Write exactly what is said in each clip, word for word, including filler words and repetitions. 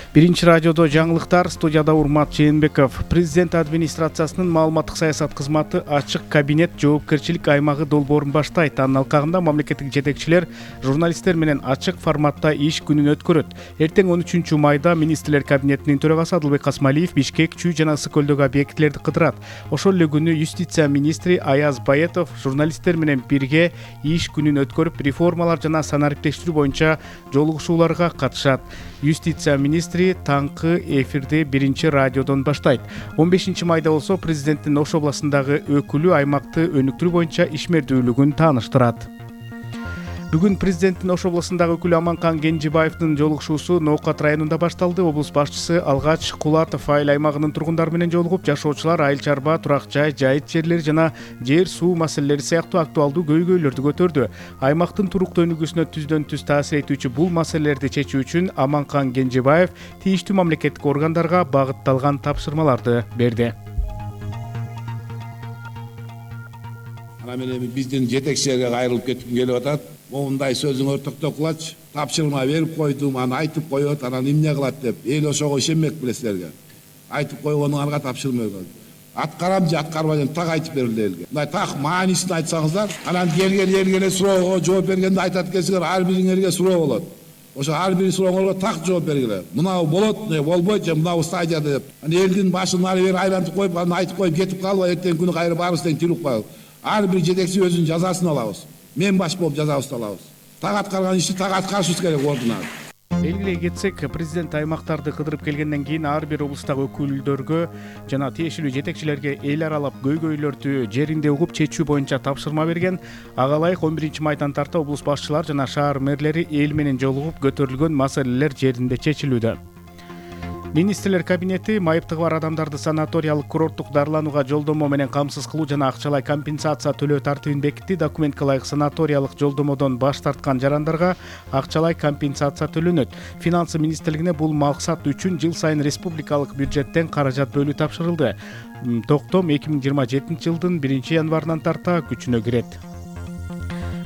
Биринчи радиодо жаңылыктар, студияда Урмат Жээнбеков. Президент администрациясынын маалыматтык саясат кызматы ачык кабинет жоопкерчилик аймагы долбоорун баштайт. Анын алкагында мамлекеттик жетекчилер журналисттер менен ачык форматта иш күнүн өткөрөт. Эртең он үчүнчү майда министрлер кабинетинин төрагасы Адылбек Касмалиев Бишкек, Чүй жана Ысык көлдөгү объектилерди кыдырат. Ошол эле күнү юстиция министри Аяз Баетов журналисттер менен бирге иш күнүн өткөрүп, реформалар жана санариптештирүү боюнча жолугушууларга катышат. Юстиция министри таңкы эфирди биринчи радиодон баштайт. он бешинчи майда болсо президенттин Ош областындагы өкүлү аймакты өнүктүрүү боюнча ишмердүүлүгүн тааныштырат. Бүгүн президенттин Ош областындагы өкүлү Аманкан Кенжебаевдин жолугушуусу Ноокат районунда башталды. Облус башчысы Алгач Кулатов айыл аймагынын тургундары менен жолугуп, жашоочулар айыл чарба, турак жай, жайыт жерлери жана жер суу маселелери сыяктуу актуалдуу көйгөйлөрдү көтөрдү. Аймактын туруктуу өнүгүүсүнө түздөн түз таасир этүүчү бул маселелерди чечүү үчүн Аманкан Кенжебаев тийиштүү мамлекеттик органдарга багытталган тапшырмаларды берди. Ана менен биздин жетекчилерге кайрылып кетким келип атат. Моундай сөзүңөр токтокулачы, тапшырма берип койдум, аны айтып коет, анан эмне кылат деп. Эл ошого ишенмек билесилерге. Айтып койгонуңарга тапшырма берген. Аткарам же аткарбайм так айтып берилди элге. Мындай так маанисин айтсаңыздар, анан келген элге эле суроого жооп бергенде айтат экенсиңер, ар бириңерге суроо болот. Ошо ар бир сурооңорго так жооп бергиле. Мынау болот, не болбойт же мынау стадияда деп. Аны элдин башын ары бери айлантып коюп, аны айтып коюп кетип калбай, эртең күнү кайра баарыбыз тең тирилип калалы. Ар бир жетекчи өзүнүн жазасын алабыз. Мен баш болуп жазабызды алабыз. Так аткарган ишти так аткарышыбыз керек ордуна. Белгилей кетсек, президент аймактарды кыдырып келгенден кийин ар бир облустагы өкүлдөргө жана тиешелүү жетекчилерге эл аралап көйгөйлөрдү жеринде угуп чечүү боюнча тапшырма берген. Ага ылайык он биринчи майдан тарта облус башчылар жана шаар мэрлери эл менен жолугуп көтөрүлгөн маселелер жеринде чечилүүдө. Министрлер кабинети майыптыгы бар адамдарды санаториялык курорттук дарыланууга жолдомо менен камсыз кылуу жана акчалай компенсация төлөө тартибин бекитти. Документке ылайык санаториялык жолдомодон баш тарткан жарандарга акчалай компенсация төлөнөт. Финансы министрлигине бул максат үчүн жыл сайын республикалык бюджеттен каражат бөлүү тапшырылды. Токтом эки миң жыйырма жетинчи жылдын биринчи январынан тарта күчүнө кирет.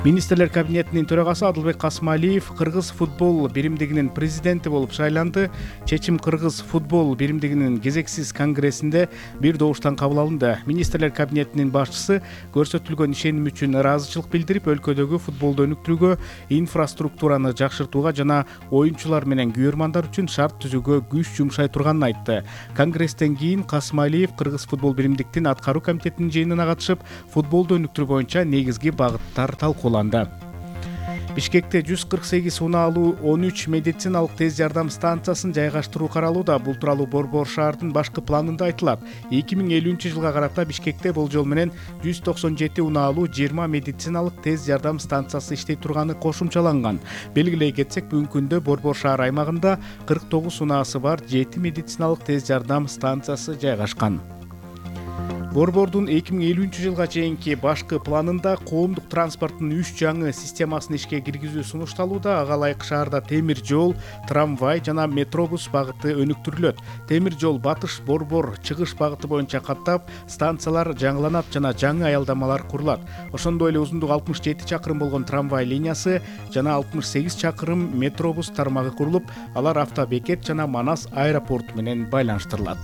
Министрлер кабинетинин төрагасы Адылбек Касмалиев Кыргыз футбол биримдигинин президенти болуп шайланды. Чечим Кыргыз футбол биримдигинин кезексиз конгрессинде бир добуштан кабыл алынды. Министрлер кабинетинин башчысы көрсөтүлгөн ишеним үчүн ыраазычылык билдирип, өлкөдөгү футболду өнүктүрүүгө, инфраструктураны жакшыртууга жана оюнчулар менен күйөрмандар үчүн шарт түзүүгө күч жумшай турганын айтты. Конгресстен кийин Касмалиев Кыргыз футбол биримдиктин аткаруу комитетинин жыйынына катышып, футболду өнүктүрүү боюнча негизги багыттар талкууланды. Бишкекте жүз кырк сегиз унаалуу он үч медициналык тез жардам станциясын жайгаштыруу каралууда. Бул тууралуу Борбор шаардын башкы планында айтылат. эки миң элүүнчү жылга карата Бишкекте болжол менен жүз токсон жети унаалуу жыйырма медициналык тез жардам станциясы иштей турганы кошумчаланган. Белгилей кетсек, бүгүнкү күндө Борбор шаар аймагында кырк тогуз унаасы бар жети медициналык тез жардам станциясы жайгашкан. Борбордун эки миң элүүнчү жылга чейинки башкы планында коомдук транспорттун үч жаңы системасын ишке киргизүү сунушталууда. Ага ылайык шаарда темир жол, трамвай жана метробус багыты өнүктүрүлөт. Темир жол батыш Борбор чыгыш багыты боюнча каттап, станциялар жаңыланат жана жаңы аялдамалар курулат. Ошондой эле узундугу алтымыш жети чакырым болгон трамвай линиясы жана алтымыш сегиз чакырым метробус тармагы курулуп, алар автобекет жана Манас аэропорту менен байланыштырылат.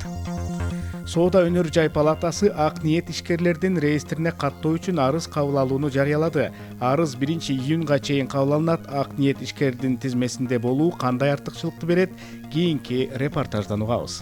Соода өнөр жай палатасы ак ниет ишкерлердин реестрине каттоо үчүн арыз кабыл алууну жарыялады. Арыз биринчи июнга чейин кабыл алынат. Ак ниет ишкердин тизмесинде болуу кандай артыкчылыкты берет? Кийинки репортаждан угабыз.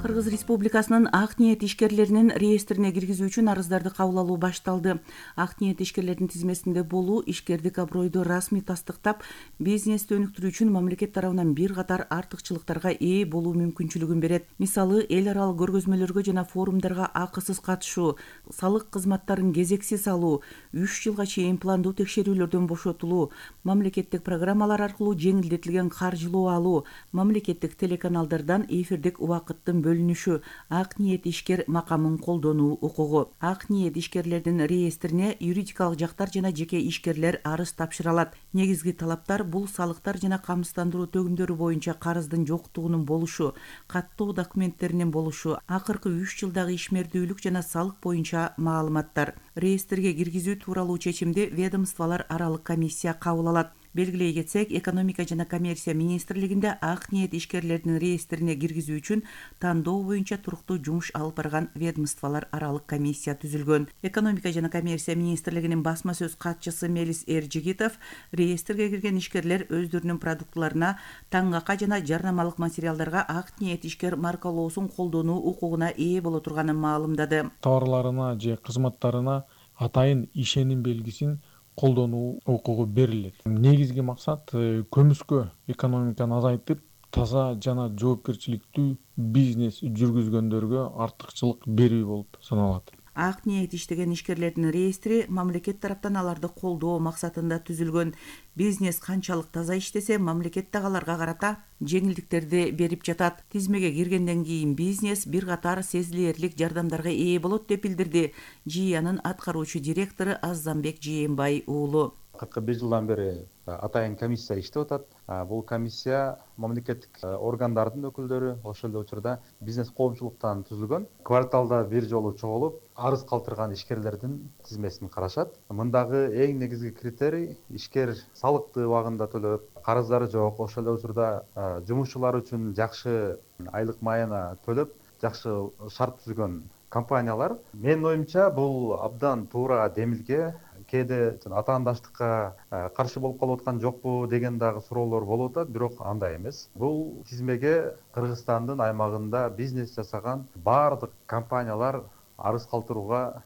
Кыргыз Республикасынын ак ниет ишкерлеринин реестрине киргизүү үчүн арыздарды кабыл алуу башталды. Ак ниет ишкерлердин тизмесинде болуу ишкердик абройду расмий тастыктап, бизнести өнүктүрүү үчүн мамлекет тарабынан бир катар артыкчылыктарга ээ болуу мүмкүнчүлүгүн берет. Мисалы, эл аралык көргөзмөлөргө жана форумдарга акысыз катышуу, салык кызматтарын кезексиз алуу, үч жылга чейин пландуу текшерүүлөрдөн бошотулуу, мамлекеттик программалар аркылуу жеңилдетилген каржылоо алуу, мамлекеттик телеканалдардан эфирдик убакыттын бөлүнүшү, ак ниет ишкер макамын колдонуу укугу. Ак ниет ишкерлердин реестрине юридикалык жактар жана жеке ишкерлер арыз тапшыра алат. Негизги талаптар бул салыктар жана камсыздандыруу төгүмдөрү боюнча карыздын жоктугунун болушу, каттоо документтеринин болушу, акыркы үч жылдагы ишмердүүлүк жана салык боюнча маалыматтар. Реестрге киргизүү тууралуу чечимди ведомстволор аралык комиссия кабыл алат. Белгилей кетсек, экономика жана коммерция министрлигинде ак ниет ишкерлердин реестрине киргизүү үчүн тандоо боюнча туруктуу жумуш алып барган ведомстволор аралык комиссия түзүлгөн. Экономика жана коммерция министрлигинин басма сөз катчысы Мелис Эржигитов реестрге кирген ишкерлер өздөрүнүн продуктыларына, таңакка жана жарнамалык материалдарга ак ниет ишкер маркалоосун колдонуу укугуна ээ боло турганын маалымдады. Товарларына же кызматтарына атайын ишеним белгисин колдонуу укугу берилет. Негизги максат көмүскө экономиканы азайтып, таза жана жоопкерчиликтүү бизнес жүргүзгөндөргө артыкчылык берүү болуп саналат. Ак ниет иштеген ишкерлердин реестри мамлекет тараптан аларды колдоо максатында түзүлгөн. Бизнес канчалык таза иштесе, мамлекет дагы аларга карата жеңилдиктерди берип жатат. Тизмеге киргенден кийин бизнес бир катар сезилэрлик жардамдарга ээ болот деп билдирди ЖИАнын аткаруучу директору Азамбек Жээнбай уулу. кыркы бир жылдан бери атайын комиссия иштеп атат. Бул комиссия мамлекеттик органдардын өкүлдөрү, ошол эле учурда бизнес коомчулуктан түзүлгөн. Кварталда бир жолу чогулуп, арыз калтырган ишкерлердин тизмесин карашат. Мындагы эң негизги критерий ишкер салыкты убагында төлөп, карыздары жок, ошол эле учурда жумушчулар үчүн жакшы айлык майына төлөп, жакшы шарт түзгөн компаниялар. Менин оюмча бул абдан туура демилге. Кээде атаандаштыкка каршы болуп калып аткан жокпу деген дагы суроолор болуп атат, бирок андай эмес. Бул тизмеге Кыргызстандын аймагында бизнес жасаган баардык компаниялар арыз калтырууга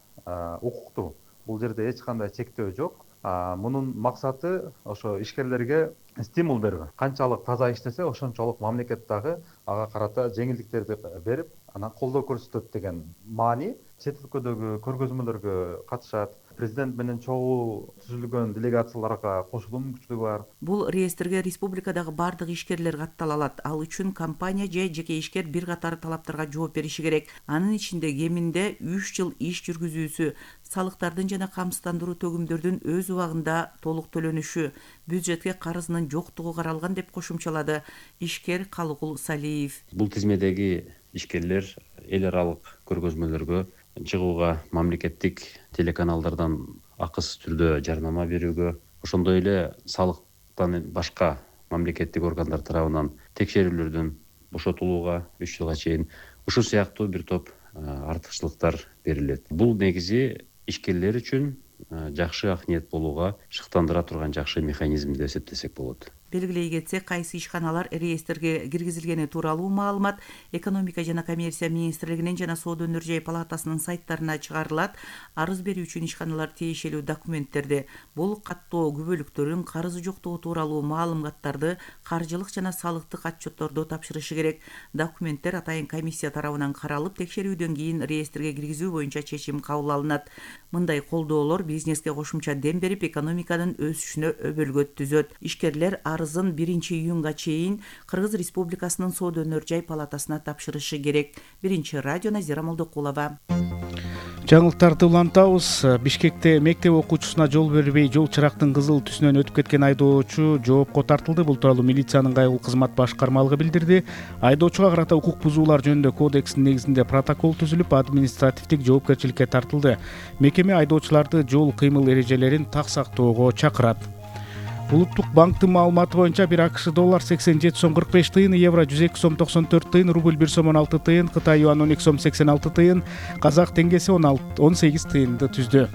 укуктуу. Бул жерде эч кандай чектөө жок. Мунун максаты ошо ишкерлерге стимул берүү. Канчалык таза иштесе, ошончолук мамлекет дагы ага карата жеңилдиктерди берип, анан колдоо көрсөтөт деген маани. Чет өлкөдөгү көргөзмөлөргө катышат. Президент менен чогуу түзүлгөн делегацияларга кошулуу мүмкүнчүлүгү бар. Бул реестрге республикадагы бардык ишкерлер каттала алат. Ал үчүн компания же жеке ишкер бир катар талаптарга жооп бериши керек. Анын ичинде кеминде үч жыл иш жүргүзүүсү, салыктардын жана камсыздандыруу төгүмдөрдүн өз убагында толук төлөнүшү, бюджетке карызынын жоктугу каралган деп кошумчалады ишкер Калыгул Салиев. Бул тизмедеги ишкерлер эл аралык көргөзмөлөргө чыгууга, мамлекеттик телеканалдардан акысыз түрдө жарнама берүүгө, ошондой эле салыктан башка мамлекеттик органдар тарабынан текшерүүлөрдөн бошотулууга үч жылга чейин ушул сыяктуу бир топ артыкчылыктар берилет. Бул негизи ишкерлер үчүн жакшы ак ниет болууга шыктандыра турган жакшы механизм деп эсептесек болот. Белгилей кетсек, кайсы ишканалар реестрге киргизилгени тууралуу маалымат экономика жана коммерция министрлигинин жана соода өнөр жай палатасынын сайттарына чыгарылат. Арыз берүү үчүн ишканалар тиешелүү документтерди, бул каттоо күбөлүктөрүн, карызы жоктугу тууралуу маалыматтарды, каржылык жана салыктык отчетторду тапшырышы керек. Документтер атайын комиссия тарабынан каралып, текшерүүдөн кийин реестрге киргизүү боюнча чечим кабыл алынат. Мындай колдоолор бизнеске кошумча дем берип, экономиканын өсүшүнө өбөлгө түзөт. Ишкерлер арызын биринчи июнга чейин Кыргыз Республикасынын соода өнөр жай палатасына тапшырышы керек. Биринчи радио Назира Молдокулова. Жаңылыктарды улантабыз. Бишкекте мектеп окуучусуна жол бербей жол чырактын кызыл түсүнөн өтүп кеткен айдоочу жоопко тартылды. Бул тууралуу милициянын кайгылуу кызмат башкармалыгы билдирди. Айдоочуга карата укук бузуулар жөнүндө кодекстин негизинде протокол түзүлүп, административдик жоопкерчиликке тартылды. Мекеме айдоочуларды жол кыймыл эрежелерин так сактоого чакырат. Улуттук банктын маалыматы боюнча бир АКШ доллар сексен жети сом кырк беш тыйын, евро жүз эки сом токсон төрт тыйын, рубль бир сом он алты тыйын, Кытай юан он эки сом сексен алты тыйын, казак теңгеси он сегиз тыйынды түздү.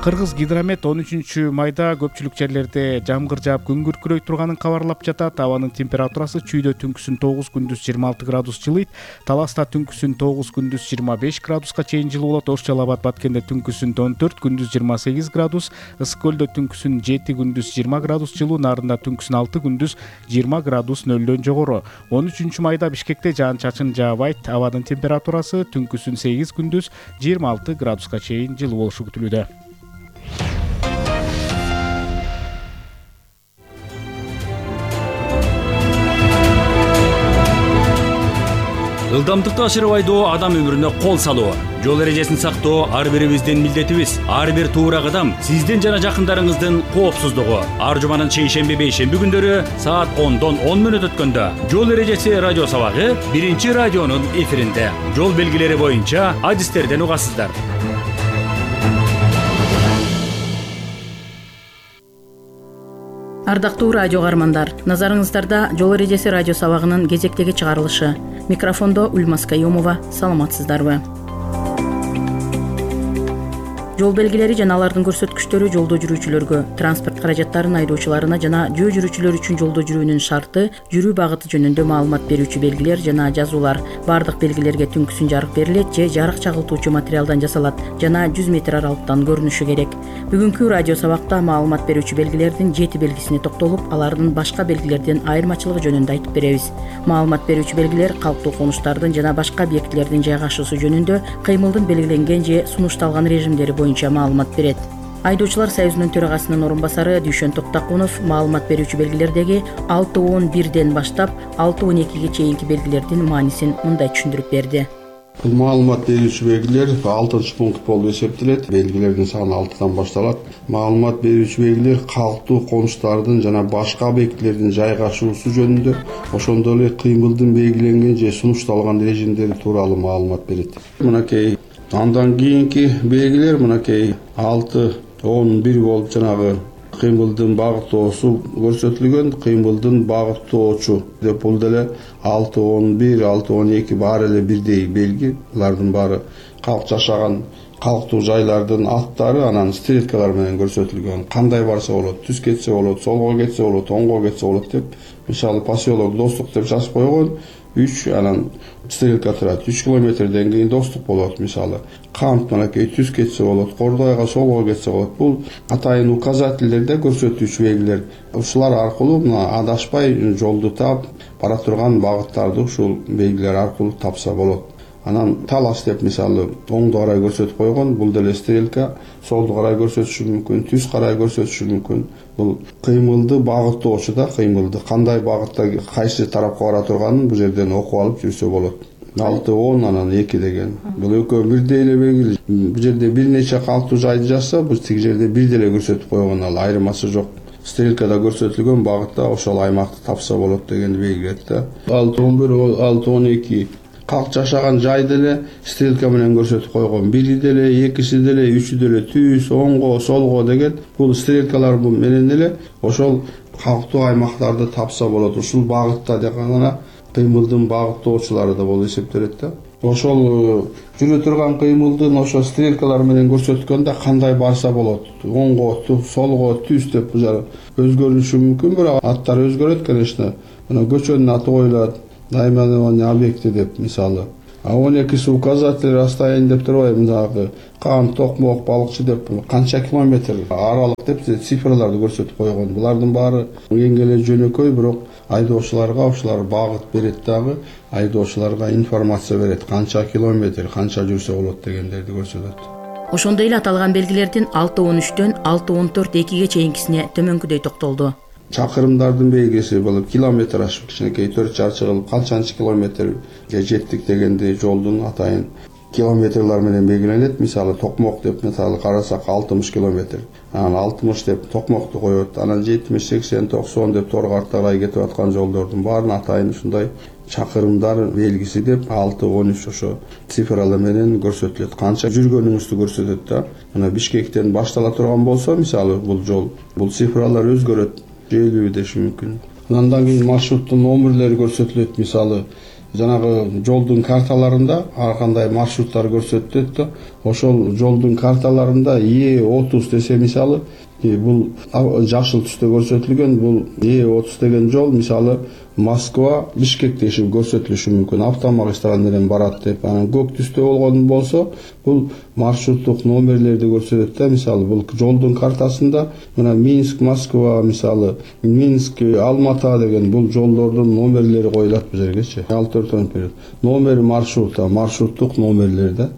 Кыргыз Гидромет он үчүнчү майда көпчүлүк жерлерде жамгыр жаап күн күркүрөй турганын кабарлап жатат. Абанын температурасы чүйдө түнкүсүн тогуз, күндүз жыйырма алты градус жылыйт. Таласта түнкүсүн тогуз, күндүз жыйырма беш градуска чейин жылуу болот. Ош Жалал Абад Баткенде түнкүсүн он төрт, күндүз жыйырма сегиз градус, Ысык көлдө түнкүсүн жети, күндүз жыйырма градус жылуу, Нарында түнкүсүн алты, күндүз жыйырма градус нөлдөн жогору. он үчүнчү майда Бишкекте жаан-чачын жаабайт. Абанын температурасы түнкүсүн сегиз, күндүз жыйырма алты градуска чейин жылуу болушу күтүлүүдө. Ылдамдыкты ашырып айдоо адам өмүрүнө кол салуу. Жол эрежесин сактоо ар бирибиздин милдетибиз. Ар бир туура кадам сиздин жана жакындарыңыздын коопсуздугу. Ар жуманын шейшемби бейшемби күндөрү саат ондон он мүнөт өткөндө жол эрежеси радио сабагы биринчи радионун эфиринде. Жол белгилери боюнча адистерден угасыздар. Ардактуу радио каармандар, назарыңыздарда жол эрежеси радио сабагынын кезектеги чыгарылышы. Микрофондо Ульмас Каюмова. Саламатсыздарбы? Жол белгилери жана алардын көрсөткүчтөрү жолдо жүрүүчүлөргө, транспорт каражаттарын айдоочуларына жана жөө жүрүүчүлөр үчүн жолдо жүрүүнүн шарты, жүрүү багыты жөнүндө маалымат берүүчү белгилер жана жазуулар. Бардык белгилерге түнкүсүн жарык берилет же жарык чагылтуучу материалдан жасалат жана жүз метр аралыктан көрүнүшү керек. Бүгүнкү радио сабакта маалымат берүүчү белгилердин жети белгисине токтолуп, алардын башка белгилерден айырмачылыгы жөнүндө айтып беребиз. Маалымат берүүчү белгилер калктуу конуштардын жана башка объектилердин жайгашуусу жөнүндө кыймылдын белгиленген же сунушталган режимдери боюнча маалымат берет. Айдоочулар союзунун төрагасынын орун басары Дүйшөн Токтакунов маалымат берүүчү белгилердеги алты он бирден баштап алты он экиге чейинки белгилердин маанисин мындай түшүндүрүп берди. Бул маалымат берүүчү белгилер алтынчы пункт болуп эсептелет. Белгилердин саны алтыдан башталат. Маалымат берүүчү белгилер калктуу конуштардын жана башка объектилердин жайгашуусу жөнүндө, ошондой эле кыймылдын белгиленген же сунушталган режимдери тууралуу маалымат берет. Мынакей андан кийинки белгилер мынакей алты он бир болуп жанагы кыймылдын багыттоосу көрсөтүлгөн, кыймылдын багыттоочу деп бул деле алты он бир алты он эки баары эле бирдей белги. Булардын баары калк жашаган калктуу жайлардын аттары, анан стрелкалар менен көрсөтүлгөн. Кандай барса болот, түз кетсе болот, солго кетсе болот, оңго кетсе болот деп. Мисалы поселок Достук деп жазып койгон. үч анан стрелка турат. үч километрден кийин Достук болот мисалы. Камп мынакей түз кетсе болот, Кордойго солго кетсе болот. Бул атайын указательдерде көрсөтүүчү белгилер. Ушулар аркылуу мына адашпай жолду таап, бара турган багыттарды ушул белгилер аркылуу тапса болот. Анан талас деп мисалы оңду карай көрсөтүп койгон, бул деле стрелка, солду карай көрсөтүшү мүмкүн, түз карай көрсөтүшү мүмкүн. Бул кыймылды багыттоочу да, кыймылды кандай багытта кайсы тарапка бара турганын бул жерден окуп алып жүрсө болот. алты он анан эки деген. Бул экөө бирдей эле белгиле. Бул жерде бир нече калктуу жайды жазса, бул тиги жерде бир деле көрсөтүп койгон, ал айырмасы жок. Стрелкада көрсөтүлгөн багытта ошол аймакты тапса болот дегенди белгилейт да. алты он бир алты он эки калк жашаган жайды эле стрелка менен көрсөтүп койгон. Бири деле, экиси деле, үчү деле түз, оңго, солго деген бул стрелкалар менен эле ошол калктуу аймактарды тапса болот. Ушул багытта деген гана кыймылдын багыттоочулары да болуп эсептелет да. Ошол жүрө турган кыймылдын ошо стрелкалар менен көрсөткөндө кандай барса болот. Оңго, солго, түз деп өзгөрүшү мүмкүн, бирок аттар өзгөрөт, конечно. Мына көчөнүн аты коюлат, наименование объекти деп мисалы. А он экиси указатель расстояние деп турбайбы, мындагы Кан, Токмок, Балыкчы деп канча километр аралык деп цифрларды көрсөтүп койгон. Булардын баары эң эле жөнөкөй, бирок айдоочуларга ушулар багыт берет дагы, айдоочуларга информация берет, канча километр, канча жүрсө болот дегендерди көрсөтөт. Ошондой эле аталган белгилердин алты он үчтөн алты он төрт экиге чейинкисине төмөнкүдөй токтолду. Чакырымдардын белгиси бул километраж, кичинекей төрт чарчы кылып канчанчы километрге жеттик дегенди жолдун атайын километрлар менен белгиленет. Мисалы Токмок деп мисалы карасак алтымыш километр. Анан алтымыш деп Токмокту коет. Анан жетимиш, сексен, токсон деп Торгарга карай кетип аткан жолдордун баарын атайын ушундай чакырымдар белгиси деп алты он үч ошо цифралар менен көрсөтүлөт. Канча жүргөнүңүздү көрсөтөт да. Мына Бишкектен баштала турган болсо, мисалы бул жол, бул цифралар өзгөрөт. элүү деши мүмкүн. Андан кийин маршруттун номерлери көрсөтүлөт. Мисалы жанагы жолдун карталарында ар кандай маршруттар көрсөтүлөт да. Ошол жолдун карталарында Е отуз десе мисалы, бул жашыл түстө көрсөтүлгөн, бул Е отуз деген жол мисалы Москва, Бишкек деши көрсөтүлүшү мүмкүн. Автомагистраль менен барат деп. Анан көк түстө болгон болсо, бул маршруттук номерлерди көрсөтөт да. Мисалы бул жолдун картасында мына Минск, Москва, мисалы Минск, Алмата деген бул жолдордун номерлери коюлат бул жергечи. алты төрт он бир номер маршрута, маршруттук номерлер да.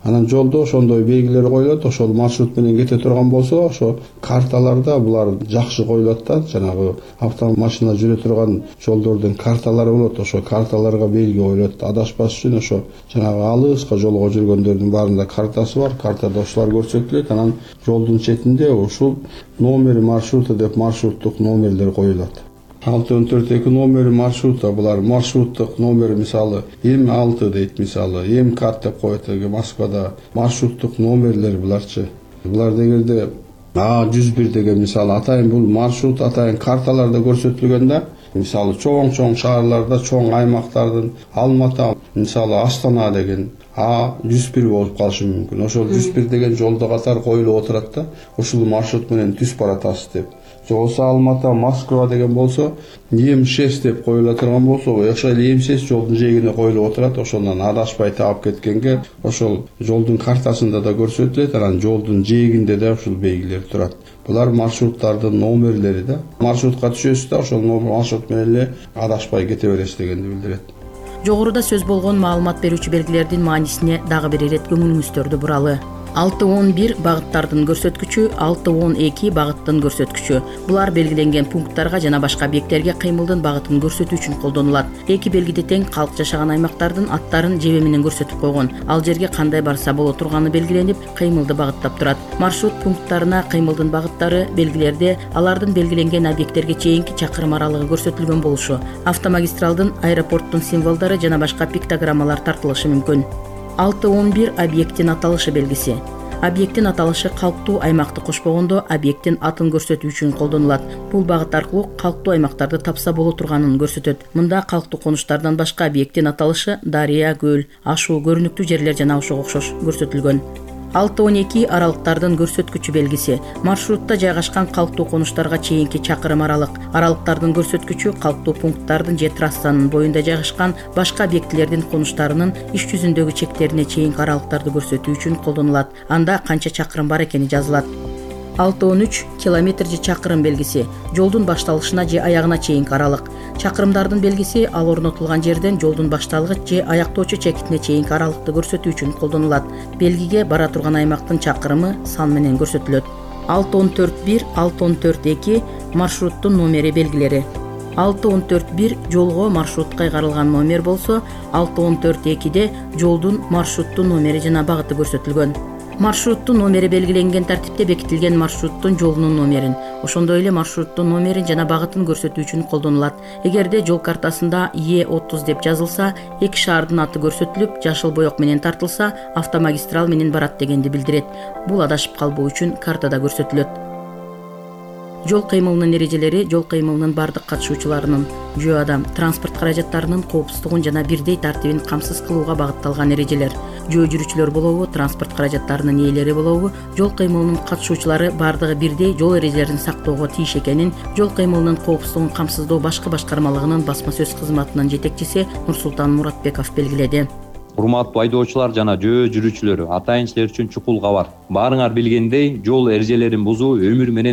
Анан жолдо ошондой белгилер коюлат, ошол маршрут менен кете турган болсо, ошо карталарда булар жакшы коюлат да. Жанагы автомашина жүрө турган жолдордун карталары болот, ошо карталарга белги коюлат. Адашпаш үчүн ошо жанагы алыска жолго жүргөндөрдүн баарында картасы бар, картада ошолар көрсөтүлөт. Анан жолдун четинде ушул номер маршрута деп маршруттук номерлер коюлат. алты он төрт эки номери маршрута, булар маршруттук номер мисалы эм алты дейт мисалы, эм кат деп коет Москвада маршруттук номерлер буларчы. Булар дегенде А жүз бир деген мисалы атайын бул маршрут атайын карталарда көрсөтүлгөн да. Мисалы чоң-чоң шаарларда, чоң аймактардын Алматы, мисалы Астана деген А жүз бир болуп калышы мүмкүн. Ошол жүз бир деген жолдо катар коюлуп отурат да, ушул маршрут менен түз баратасыз деп. Же болбосо Алматы, Москва деген болсо эм шесть деп коюла турган болсо, ошол эм шесть жолдун жээгине коюлуп отурат. Ошондон адашпай таап кеткенге ошол жолдун картасында да көрсөтүлөт, анан жолдун жээгинде да ушул белгилер турат. Булар маршруттардын номерлери да. Маршрутка түшөсүз да, ошол маршрут менен эле адашпай кете бересиз дегенди билдирет. Жогоруда сөз болгон маалымат берүүчү белгилердин маанисине дагы бир ирет көңүлүңүздөрдү буралы. алты он бир багыттардын көрсөткүчү, алты он эки багыттын көрсөткүчү. Булар белгиленген пункттарга жана башка объекттерге кыймылдын багытын көрсөтүү үчүн колдонулат. Эки белгиде тең калк жашаган аймактардын аттарын жебе менен көрсөтүп койгон. Ал жерге кандай барса боло турганы белгиленип, кыймылды багыттап турат. Маршрут пункттарына кыймылдын багыттары белгилерде алардын белгиленген объекттерге чейинки чакырым аралыгы көрсөтүлгөн болушу, автомагистралдын, аэропорттун символдору жана башка пиктограммалар тартылышы мүмкүн. алты он бир объекттин аталышы белгиси. Объекттин аталышы калктуу аймакты кошпогондо объекттин атын көрсөтүү үчүн колдонулат. Бул багыт аркылуу калктуу аймактарды тапса боло турганын көрсөтөт. Мында калктуу конуштардан башка объекттин аталышы дарыя, көл, ашуу, көрүнүктүү жерлер жана ошого окшош көрсөтүлгөн. алты он эки аралыктардын көрсөткүчү белгиси. Маршрутта жайгашкан калктуу конуштарга чейинки чакырым аралык. Аралыктардын көрсөткүчү калктуу пункттардын же трассанын боюнда жайгашкан башка объектилердин конуштарынын иш жүзүндөгү чектерине чейинки аралыктарды көрсөтүү үчүн колдонулат. Анда канча чакырым бар экени жазылат. алты он үч километр же чакырым белгиси. Жолдун башталышына же аягына чейинки аралык. Чакырымдардын белгиси ал орнотулган жерден жолдун башталгыч же аяктоочу чекитине чейинки аралыкты көрсөтүү үчүн колдонулат. Белгиге бара турган аймактын чакырымы сан менен көрсөтүлөт. алты он төрт бир, алты он төрт эки маршруттун номери белгилери. алты он төрт бир жолго маршрут кайгарылган номер болсо, алты он төрт экиде жолдун маршруттун номери жана багыты көрсөтүлгөн. Маршруттун номери белгиленген тартипте бекитилген маршруттун жолунун номерин, ошондой эле маршруттун номерин жана багытын көрсөтүү үчүн колдонулат. Эгерде жол картасында Е отуз деп жазылса, эки шаардын аты көрсөтүлүп, жашыл боек менен тартылса, автомагистрал менен барат дегенди билдирет. Бул адашып калбоо үчүн картада көрсөтүлөт. Жол кыймылынын эрежелери жол кыймылынын бардык катышуучуларынын жөө адам, транспорт каражаттарынын коопсуздугун жана бирдей тартибин камсыз кылууга багытталган эрежелер. Жөө жүрүүчүлөр болобу, транспорт каражаттарынын ээлери болобу, жол кыймылынын катышуучулары бардыгы бирдей жол эрежелерин сактоого тийиш экенин жол кыймылынын коопсуздугун камсыздоо башкы башкармалыгынын басма сөз кызматынын жетекчиси Нурсултан Муратбеков белгиледи. Урматтуу айдоочулар жана жөө жүрүүчүлөр, атайын силер үчүн чукул кабар. Баарыңар билгендей, жол эрежелерин бузуу өмүр менен